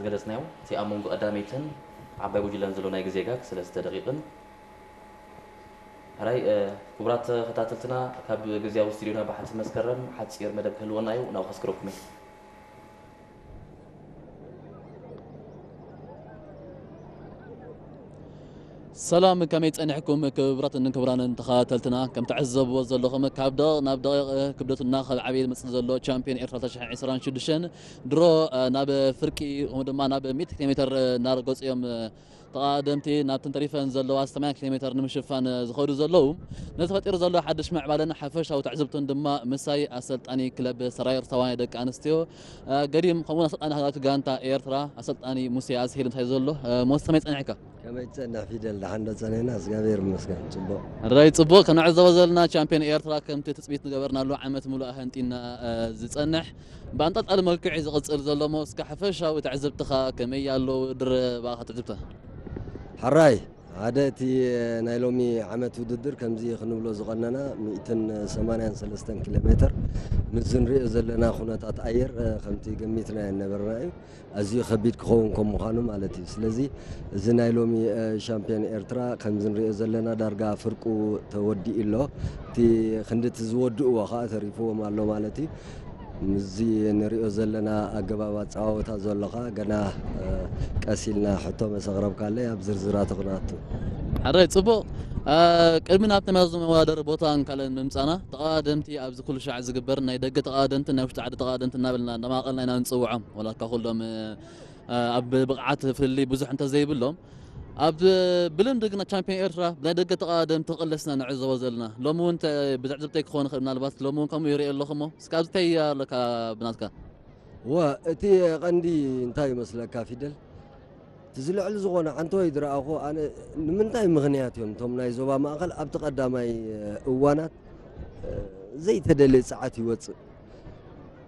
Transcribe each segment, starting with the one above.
ገለጽናዮ። እቲ ኣብ መንጎ ቀዳመይትን ዓባይ ጉጅለን ዘሎ ናይ ግዜ ጋግ ሰለስተ ደቂቕን። ሕራይ፣ እ፣ ክቡራት ተኸታተልትና፣ ካብ ግዝያዊ ስቱዲዮና ብሓንቲ መስከረም ሓጺር መደብ ክህልወና እዩ፣ ናብኡ ከስክረኩም እየ። ሰላም፣ ከመይ ጸኒሕኩም ክቡራትን ክቡራንን ተኸታተልትና? ከም ትዕዘብዎ ዘለኹም ካብ ደቂቕ ናብ ደቂቕ ክብደቱ እናኸብዓበ ዝመጽእ ዘሎ ቻምፒዮን ኤርትራ ክልተ ሽሕን ዕስራን ሽዱሽተን ድሮ፣ እ፣ ናብ ፍርቂ ከምኡ ድማ ናብ ሚእቲ ኪሎ ሜትር እናረገጹ እዮም፣ እ፣ ተቐዳደምቲ ናብተን ተሪፈን ዘለዋ ሰማንያ ኪሎ ሜትር ንምሽፋን ዝኸዱ ዘለዉ። ነዚ ፈጢሩ ዘሎ ሓድሽ ምዕባለን ሓፈሻዊ ትዕዝብቱን ድማ ምሳይ ኣሰልጣኒ ክለብ ሰራየር ተዋናይ ደቂ ኣንስትዮ፣ እ፣ ገዲም ከምኡውን ኣሰልጣኒ ሃገራዊት ጋንታ ኤርትራ ኣሰልጣኒ ሙሴ ኣስሄል ምሳይ ዘሎ። እ፣ ሞስ ከመይ ጸኒሕካ? ከመይ ትጸንሕ ፊደል? ደሓን ዶ ጸኒሕና? እግዚኣብሔር ይመስገን። ጽቡቕ። ሕራይ ጽቡቕ። ክንዕዘቦ ዘለና ቻምፒዮን ኤርትራ ከምቲ ትጽቢት ዝገበርናሉ ዓመት ሙሉእ ኣህንጢና፣ እ፣ ዝጸንሕ ብኣንጠልጣሊ መልክዑ እዩ ዝቕጽል ዘሎ እሞ እስከ ሓፈሻዊ ትዕዝብትኻ ከመይ ኣሎ? ድረ ብኣኻ ትዕዝብታ። ሕራይ፣ ሓደ እቲ ናይ ሎሚ ዓመት ውድድር ከምዚ ክንብሎ ዝቐነና ሚእትን ሰማንያን ሰለስተን ኪሎ ሜትር ምስ ዝንሪኦ ዘለና ኩነታት ኣየር፣ እ፣ ከምቲ ገሚትና ኣይነበርና እዩ። ኣዝዩ ከቢድ ክኸውን ከም ምዃኑ ማለት እዩ። ስለዚ እዚ ናይ ሎሚ፣ እ፣ ሻምፒዮን ኤርትራ ከምዚ ንሪኦ ዘለና ዳርጋ ፍርቁ ተወዲኡ ኣሎ። እቲ ክንዲ እቲ ዝወድእዎ ኸዓ ተሪፍዎም ኣሎ ማለት እዩ። ምስዚ ንሪኦ ዘለና ኣገባብ ኣጸዋውታ ዘሎ ኸዓ ገና፣ እ፣ ቀስ ኢልና ሕቶ መስ ኣቕረብካለይ ኣብ ዝርዝራቱ ክንኣቱ። ሕራይ ጽቡቕ። እ፣ ቅድሚ ናብቲ መዚ መወዳደሪ ቦታን ካልእን ምምጻና፣ ተቐዳደምቲ ኣብዚ ኩሉ ሻዕ ዝግበር ናይ ደገ ተቐዳደምትን ናይ ውሽጢ ዓዲ ተቐዳደምትን እናበልና እናማቐልና ኢና ንጽውዖም። ወላ እኳ ኩሎም፣ እ፣ ኣብ ብቕዓት ፍልልይ ብዙሕ እንተዘይብሎም፣ ኣብ ብልምዲ ግን ቻምፒዮን ኤርትራ ብናይ ደገ ተቐዳደምቲ ክቕለስና ንዕዘቦ ዘለና። ሎሚ እውን እንተ-፣ ብትዕዝብተይ ክኸውን ይኽእል፣ ምናልባት ሎሚ እውን ከምኡ ይርኢ ኣለኹ እሞ፣ እስከ ኣብዚ እንታይ ኣለካ ብናትካ? እወ፣ እቲ ቀንዲ እንታይ ይመስለካ ፊደል? እቲ ዝልዕል ዝኾነ ዓንተወይ ዝረኣኹ ኣነ፣ ንምንታይ ምኽንያት እዮም እቶም ናይ ዞባ ማእከል ኣብቲ ቀዳማይ እዋናት ዘይተደልየ ጸዓት ይወጽእ?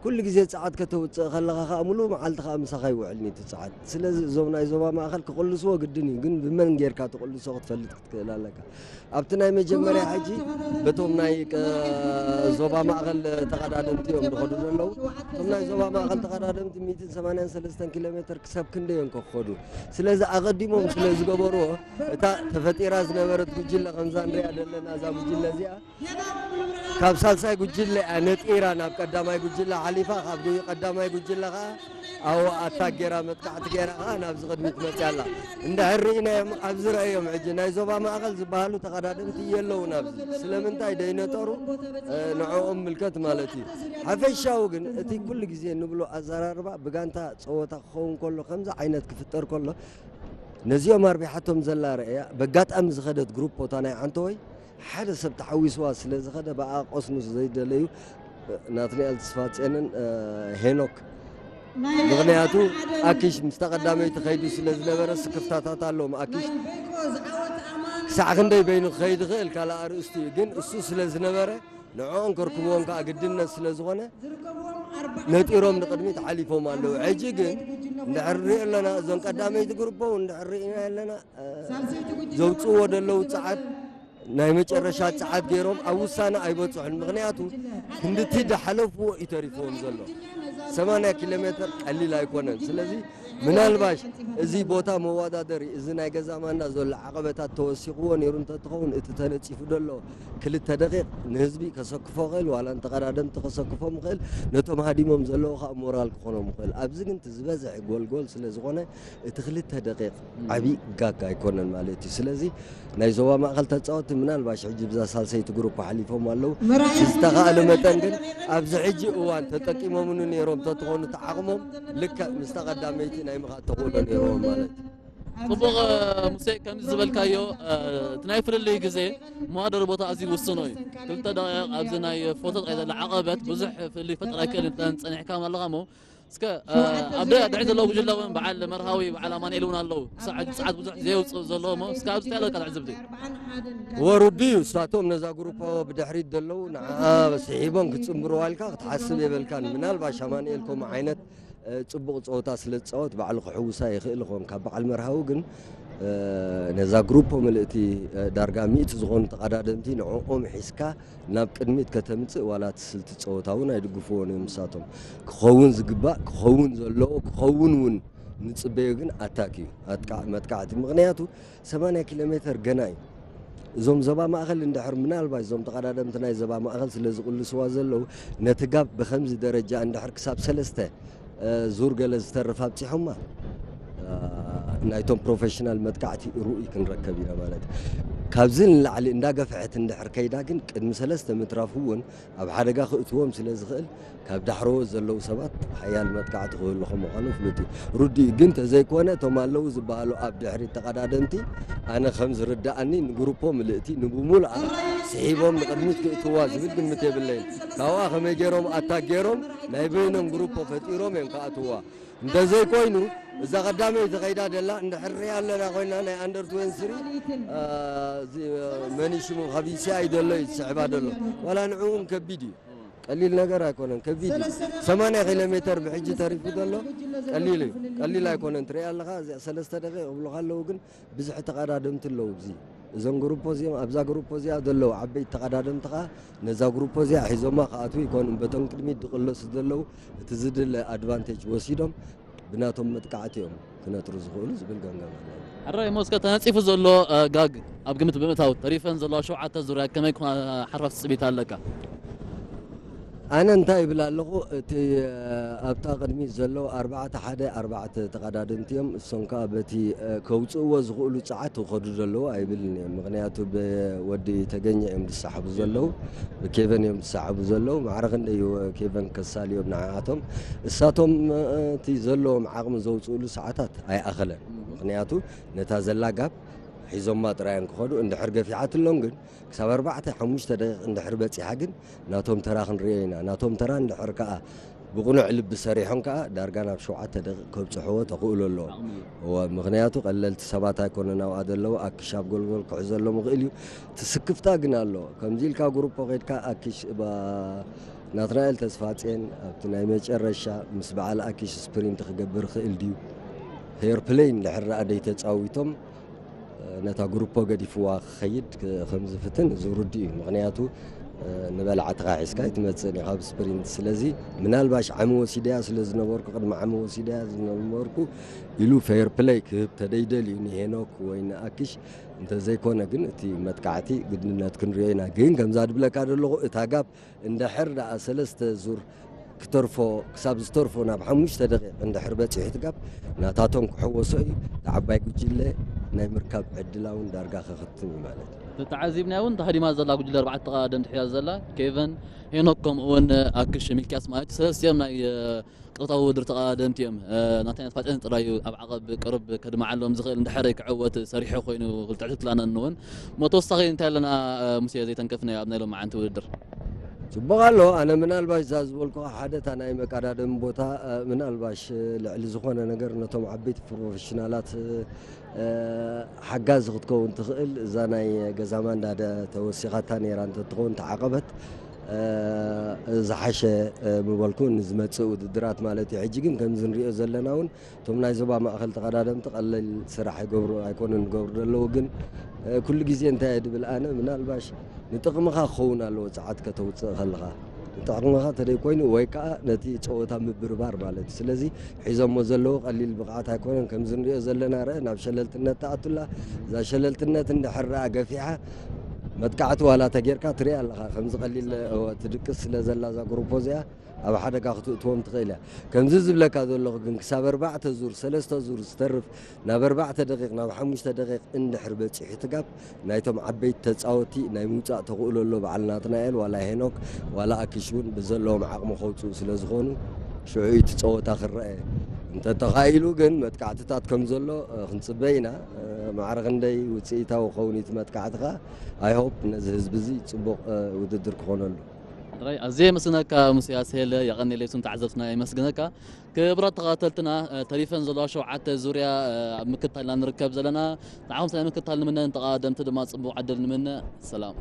ኩሉ ግዜ ጸዓት ከተውጽእ ከለኻ ከኣ ምሉእ መዓልቲ ከኣ ምሳኻ ይውዕል ነቲ ጸዓት። ስለዚ እዞም ናይ ዞባ ማእከል ክቕልስዎ ግድን እዩ፣ ግን ብመን ጌርካ ትቕልሶ ክትፈልጥ ክትክእል ኣለካ። ኣብቲ ናይ መጀመርያ ሕጂ በቶም ናይ ቀ-፣ ዞባ ማእከል ተቐዳደምቲ እዮም ዝኸዱ ዘለዉ። እቶም ናይ ዞባ ማእከል ተቐዳደምቲ ሚእትን ሰማንያን ሰለስተን ኪሎ ሜትር ክሳብ ክንደይ እዮም ክኸዱ? ስለዚ ኣቐዲሞም ስለ ዝገበርዎ፣ እታ ተፈጢራ ዝነበረት ጉጅለ ከምዛ ንሪኣ ዘለና እዛ ጉጅለ እዚኣ ካብ ሳልሳይ ጉጅለ እያ ነጢራ ናብ ቀዳማይ ጉጅለ ሓሊፋ፣ ካብ ጉ-፣ ቀዳማይ ጉጅለ ኸዓ ኣብኡ ኣታክ ጌራ መጥቃዕቲ ጌራ ኸዓ ናብዚ ቅድሚት መፅያ ኣላ። እንድሕር ርኢናዮም ኣብዚ ረኣዮም ሕጂ ናይ ዞባ ማእኸል ዝበሃሉ ተቐዳደምቲ የለውን ኣብዚ። ስለምንታይ ደይነጠሩ፣ እ፣ ንዕኦም ምልከት ማለት እዩ። ሓፈሻዊ ግን እቲ ኩሉ ግዜ ንብሎ ኣዘራርባ ብጋንታ ፀወታ ክኸውን ከሎ ከምዚ ዓይነት ክፍጠር ከሎ ነዚኦም ኣርቢሓቶም ዘላ ረእያ በጋጣሚ ዝኸደት ግሩፕ ቦታ ናይ ዓንተወይ ሓደ ሰብ ተሓዊስዋ ስለ ዝኸደ ብኣ ቆስኑ ዘይደለዩ ናትናኤል ተስፋጽዮንን፣ እ፣ ሄኖክ። ምኽንያቱ ኣኪሽ ምስ ተቐዳመይቲ ከይዱ ስለ ዝነበረ ስክፍታታት ኣለዎም። ኣኪሽ ክሳዕ ክንደይ በይኑ ክኸይድ ይኽእል ካልእ ኣርእስቲ እዩ፣ ግን እሱ ስለ ዝነበረ ንዕኦም ከርክብዎም ከዓ ግድነት ስለ ዝኾነ ነጢሮም ንቕድሚት ሓሊፎም ኣለዉ። ሕጂ ግን እንድሕር ንሪኦ ኣለና እዞም ቀዳመይቲ ግሩፖ እውን እንድሕር ርኢና ኣለና፣ እ፣ ዘውፅእዎ ዘለዉ ጸዓት ናይ መጨረሻ ጸዓት ገይሮም ኣብ ውሳነ ኣይበጽሑን። ምኽንያቱ ክንድቲ ዝሓለፍዎ እዩ ተሪፍዎም ዘሎ። ሰማንያ ኪሎ ሜትር ቀሊል ኣይኮነን። ስለዚ ምናልባሽ እዚ ቦታ መወዳደሪ፣ እዚ ናይ ገዛ ማንዳ ዘሎ ዓቐበታት ተወሲኽዎ ነይሩ እንተትኸውን፣ እቲ ተነጺፉ ዘሎ ክልተ ደቂቕ ንህዝቢ ከሰክፎ ይኽእል፣ ዋላ ንተቐዳደምቲ ከሰክፎም ይኽእል፣ ነቶም ሃዲሞም ዘለዉ ኸኣ ሞራል ክኾኖም ይኽእል። ኣብዚ ግን እቲ ዝበዝሐ ጎልጎል ስለ ዝኾነ፣ እቲ ክልተ ደቂቕ ዓብዪ ጋግ ኣይኮነን ማለት እዩ። ስለዚ ናይ ዞባ ማእኸል ተጻወትቲ ምናልባሽ ሕጂ ብዛ ሳልሰይቲ ግሩፕ ሓሊፎም ኣለዉ። ብዝተኻእለ መጠን ግን ኣብዚ ሕጂ እዋን ተጠቂሞምሉ ነይሮም ተትኾኑ እቲ ዓቕሞም ልክዕ ምስታ ቀዳመይቲ ናይ ምኻድ ተኽእሎ ነይርዎም ማለት እዩ። ጽቡቕ፣ ሙሴ፣ ከምዚ ዝበልካዮ፣ እ፣ እቲ ናይ ፍልልይ ግዜ መዋደሪ ቦታ ኣዝዩ ውሱን እዩ። ክልተ ደቂቕ ኣብዚ ናይ ፎቶ ጥራይ ዘሎ ዓቐበት ብዙሕ ፍልልይ ክፈጥር ኣይክእልን። ጸኒሕካ ኣለኻ እሞ እስከ፣ እ፣ ኣብ ደ-፣ ድሕሪ ዘለዉ ጉጅለ እውን በዓል መርሃዊ፣ በዓል ኣማኑኤል እውን ኣለዉ። ክሳዕ ሕጂ ጸዓት ብዙሕ ዘየውጽኡ ዘለዉ እሞ እስከ ኣብዚ እንታይ ኣለካ ትዕዝብቲ? ወሩዱ እዩ። እሳቶም ነዛ ግሩፓ ብድሕሪት ዘለዉ ንዓ ስሒቦም ክጽንብርዋ ኢልካ ክትሓስብ የበልካን። ምናልባሽ ኣማኑኤል ከምኡ ዓይነት እ፣ ጽቡቕ ጸወታ ስለ ዝጻወት ባዕሉ ክሕውሳ ይኽእል ይኸውን። ካብ በዓል መርሃዊ ግን፣ እ፣ ነዛ ግሩፖ ምልእቲ፣ እ፣ ዳርጋ ሚእቲ ዝኾኑ ተቐዳደምቲ ንዕኦም ሒዝካ ናብ ቅድሚት ከተምጽእ ዋላ እቲ ስልቲ ጸወታ እውን ኣይድግፍዎን እዮም። ንሳቶም ክኸውን ዝግባእ፣ ክኸውን ዘለዎ፣ ክኸውን እውን ንጽበዮ ግን ኣታክ እዩ፣ ኣጥቃዕ-፣ መጥቃዕቲ። ምኽንያቱ ሰማንያ ኪሎ ሜተር ገና እዩ። እዞም ዞባ ማእከል እንድሕር ምናልባት እዞም ተቐዳደምቲ ናይ ዞባ ማእከል ስለ ዝቕልስዋ ዘለዉ፣ ነቲ ጋብ ብኸምዚ ደረጃ እንድሕር ክሳብ ሰለስተ፣ እ፣ ዙር ገለ ዝተርፍ ኣብጺሖማ፣ እ፣ ናይቶም ፕሮፌሽናል መጥቃዕቲ ርኡይ ክንረከብ ኢና ማለት እዩ። ካብዚ ንላዕሊ እንዳገፍሐት እንድሕር ከይዳ ግን ቅድሚ ሰለስተ ምትራፉ እውን ኣብ ሓደጋ ክእትዎም ስለ ዝኽእል፣ ካብ ዳሕረዎት ዘለዉ ሰባት ሓያል መጥቃዕቲ ክህሉ ከም ምዃኑ ፍሉጥ እዩ። ርዱእ እዩ፣ ግን ተዘይኮነ እቶም ኣለዉ ዝበሃሉ ኣብ ድሕሪት ተቐዳደምቲ፣ ኣነ ከም ዝርድኣኒ ንግሩፖ ምልእቲ ንብሙሉኣ ስሒቦም ንቕድሚት ክእትዋ ዝብል ግምት የብለይን። ካብኣ ከመይ ገይሮም ኣታክ ገይሮም ናይ በይኖም ግሩፖ ፈጢሮም እዮም ክኣትዋ። እንተዘይኮይኑ እዛ ቀዳመይቲ ከይዳ ደላ እንድሕር ሪኣ ኣለና ኮይና ናይ ኣንደር ትዌንቲ ስሪ፣ እ፣ እዚ፣ እ፣ መን እዩ ሽሙ ካብ ዩ ሲ ኣይ ዘሎ እዩ ዝስዕባ ዘሎ። ዋላ ንዕኡ እውን ከቢድ እዩ። ቀሊል ነገር ኣይኮነን፣ ከቢድ እዩ። ሰማንያ ኪሎ ሜተር ብሕጂ ተሪፉ ዘሎ ቀሊል እዩ። ቀሊል ኣይኮነን። ትሪኣ ኣለኻ፣ እዚኣ ሰለስተ ደቂቕ ይብሉኻ ኣለዉ፣ ግን ብዝሒ ተቐዳደምቲ ኣለዉ። እዚ፣ እዞም ግሩፖ እዚኦም፣ ኣብዛ ግሩፖ እዚኣ ዘለዉ ዓበይቲ ተቐዳደምቲ ኸኣ ነዛ ግሩፖ እዚኣ ሒዞማ ክኣትዉ ይኮኑን፣ በቶም ቅድሚት ዝቕለሱ ዘለዉ እቲ ዝድለ ኣድቫንቴጅ ወሲዶም ብናቶም መጥቃዕቲ እዮም ክነጥሩ ዝኽእሉ ዝብል ገምጋም ኣለኒ። ሕራይ፣ ሞስከ ተነጺፉ ዘሎ፣ እ፣ ጋግ ኣብ ግምት ብምእታው ተሪፈን ዘለዋ ሸውዓተ ዙርያ ከመይ ክኾና ሓርፋፍ ትጽቢት ኣለካ? ኣነ እንታይ ይብል ኣለኹ፣ እቲ፣ እ፣ ኣብታ ቅድሚት ዘለዉ ኣርባዕተ ሓደ ኣርባዕተ ተቐዳደምቲ እዮም። እሶም ከኣ በቲ፣ እ፣ ከውጽእዎ ዝኽእሉ ጸዓት ይኸዱ ዘለዉ ኣይብልን እዮም። ምኽንያቱ ብወዲ ተገኘ እዮም ዝሰሓቡ ዘለዉ፣ ብኬቨን እዮም ዝሰሓቡ ዘለዉ። ማዕረ ክንደይ እዩ ኬቨን ከሳልዮም ንዓኣቶም። እሳቶም፣ እ፣ እቲ ዘለዎም ዓቕሚ ዘውጽእሉ ሰዓታት ኣይኣኸለን። ምኽንያቱ ነታ ዘላ ጋብ ሒዞማ ጥራይ እዮም ክኸዱ። እንድሕር ገፊሓትሎም ግን ክሳብ ኣርባዕተ ሓሙሽተ ደቂቕ እንድሕር በጺሓ ግን ናቶም ተራ ክንርእዮ ኢና። ናቶም ተራ እንድሕር ከኣ ብቕኑዕ ልቢ ሰሪሖም ከኣ ዳርጋ ናብ ሸውዓተ ደቂቕ ከብጽሕዎ ተኽእሎ ኣለዎም። ዓቕሚ እዩ። እወ፣ ምኽንያቱ ቀለልቲ ሰባት ኣይኮኑን ኣብኣ ዘለዉ። ኣኪሽ ኣብ ጎልጎል ክሕዘሎም ይኽእል እዩ። እቲ ስክፍታ ግን ኣሎ። ከምዚ ኢልካ ግሩፖ ኸይድካ ኣኪሽ ባ-፣ ናትናኤል ተስፋጽዮን ኣብቲ ናይ መጨረሻ ምስ በዓል ኣኪሽ ስፕሪንት ክገብር ይኽእል ድዩ? ፌር ፕለይ እንድሕር ደኣ ደይተጻዊቶም ነታ ግሩፖ ገዲፍዋ ክኸይድ ክ-፣ ከም ዝፍትን እዚ ርዱእ እዩ። ምኽንያቱ፣ እ፣ ንበላዕትኻ ሒዝካ ኣይትመጽእን ኢኻ ኣብ ስፕሪንት። ስለዚ ምናልባሽ ዓሚ ወሲደያ ስለ ዝነበርኩ፣ ቅድሚ ዓሚ ወሲደያ ዝነበርኩ ኢሉ ፌር ፕለይ ክህብ ተደይደልዩ ንሄኖክ ወይ ንኣኪሽ፣ እንተዘይኮነ ግን እቲ መጥቃዕቲ ግድነት ክንሪኦ ኢና። ግን ከምዛ ድብለካ ዘለኹ እታ ጋብ እንድሕር ደኣ ሰለስተ ዙር ክተርፎ፣ ክሳብ ዝተርፎ ናብ ሓሙሽተ ደቂቕ እንድሕር በጺሑ ትጋብ፣ ናታቶም ክሕወሶ እዩ። እቲ ዓባይ ጉጅለ ናይ ምርካብ ዕድላ እውን ዳርጋ ከኸትም እዩ ማለት እዩ። ተተዓዚብና እውን ተሃዲማ ዘላ ጉጅለ ኣርባዕተ ተቐዳደምቲ ሒዛ ዘላ፣ ኬቨን፣ ሄኖክ፣ ከምኡ እውን ኣክሽ ሚልክያስ ማለት እዩ። ሰለስቲኦም ናይ፣ እ፣ ቅጥታዊ ውድድር ተቐዳደምቲ እዮም። እ፣ ናተይ ፋጤን ጥራይ እዩ ኣብ ዓቐብ ቅርብ ከድምዓሎም ዝኽእል፣ እንድሕር ክዕወት ሰሪሑ ኮይኑ ክልተ ዕለት ክላነን እውን። እሞ ተወሳኺ እንታይ ኣለና፣ እ፣ ሙሴ ዘይተንከፍናዮ ኣብ ናይ ሎማዓንቲ ውድድር? ጽቡቕ ኣሎ። ኣነ ምናልባሽ እዛ ዝበልኩኻ ሓደ እታ ናይ መቀዳደሚ ቦታ፣ እ፣ ምናልባሽ፣ እ፣ ልዕሊ ዝኾነ ነገር ነቶም ዓበይቲ ፕሮፌሽናላት፣ እ፣ እ፣ ሓጋዚ ክትከውን ትኽእል እዛ ናይ ገዛ ማንዳ ደ ተወሲኻታ ነይራ እንተትኸውን ተዓቐበት፣ እ፣ ዝሓሸ፣ እ፣ ምበልኩ ንዝመጽእ ውድድራት ማለት እዩ። ሕጂ ግን ከምዚ ንሪኦ ዘለና እውን እቶም ናይ ዞባ ማእከል ተቐዳደምቲ ቀለል ስራሕ ይገብሩ ኣይኮኑን ዝገብሩ ዘለዉ፣ ግን፣ እ፣ ኩሉ ግዜ እንታይ እየ ድብል ኣነ፣ ምናልባሽ ንጥቕምኻ ክኸውን ኣለዎ ጸዓት ከተውጽእ ከለኻ። ንጥቕምኻ ተደይ ኮይኑ ወይ ከኣ ነቲ ጸወታ ምብርባር ማለት እዩ። ስለዚ ሒዞሞ ዘለዉ ቀሊል ብቕዓት ኣይኮነን። ከምዚ ንሪኦ ዘለና ርእ ናብ ሸለልትነት ትኣቱላ። እዛ ሸለልትነት እንድሕር ደኣ ገፊሓ መጥቃዕቲ ዋላ ተጌርካ ትሪኣ ኣለኻ። ከምዚ ቀሊል፣ እወ፣ ትድቅስ ስለ ዘላ እዛ ግሩፖ እዚኣ፣ ኣብ ሓደጋ ክትእትዎም ትኽእል እያ። ከምዚ ዝብለካ ዘለኹ ግን ክሳብ ኣርባዕተ ዙር፣ ሰለስተ ዙር ዝተርፍ ናብ ኣርባዕተ ደቂቕ፣ ናብ ሓሙሽተ ደቂቕ እንድሕር በጺሑ ትጋብ ናይቶም ዓበይቲ ተጻወቲ ናይ ምውጻእ ተኽእሎ ኣሎ። በዓል ናትናኤል ዋላ ሄኖክ ዋላ ኣኪሽ እውን ብዘለዎም ዓቕሚ ከውጽኡ ስለ ዝኾኑ ሽዑ እቲ ጸወታ ክረአ እንተተኻኢሉ ግን መጥቃዕትታት ከም ዘሎ፣ እ፣ ክንጽበ ኢና። እ፣ ማዕረ ክንደይ ውጽኢታዊ ክኸውን እቲ መጥቃዕቲ ከኣ፣ I hope ነዚ ህዝቢ እዚ ጽቡቕ፣ እ፣ ውድድር ክኾነሉ። ጥራይ ኣዝየ የመስግነካ ሙሴ ኣስሄለ፣ የቐንየለይ። እሱም ተዓዘብትና የመስግነካ። ክቡራት ተኸታተልትና፣ እ፣ ተሪፈን ዘለዋ ሸውዓተ ዙርያ፣ እ፣ ኣብ ምክትታል ኢና ንርከብ ዘለና። ንዓኹም ሰናይ ምክትታል ንምነ፣ ንተቐዳደምቲ ድማ ጽቡቕ ዕድል ንምነ። ሰላም።